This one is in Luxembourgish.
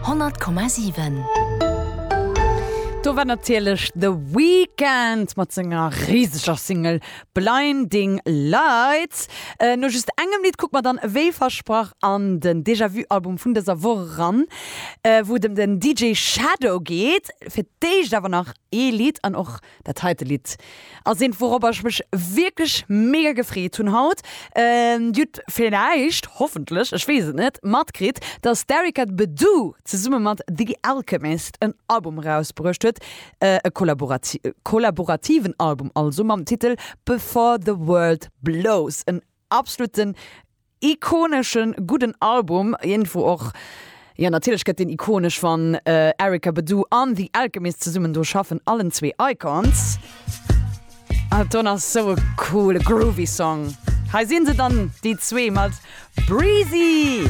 100,7. Do war natierlech The Weeknd mat senger riseger Single Blinding Lights. No just engem Lidd kucke mer dann wéi versprach an den Déjà Vu Album vun dëser Woch eran, wou et ëm den DJ Shadow geet. Fir d'éischt awer nach ee Lidd an och Dat heite Lidd ass eent wourobber ech mech wierklech mega gefreet hunn haut. Dir hutt villäicht, hoffentlech, ech weess et net, matkritt, dass d'Erykah Badu zesumme mat The Alchemist en Album erausbruecht huet, e kollaborativen Album also, mam Titel Before the World Blows. En absoluten Ikoneschen gudden Album, iergendwou och, jo natierlech gëtt deen ikonesch wann Erykah Badu an The Alchemist zesummen do schaffen, allen zwee Icons. An don ass sou e coole groovy Song. Hei sinn se dann déi zwee mat Breezy.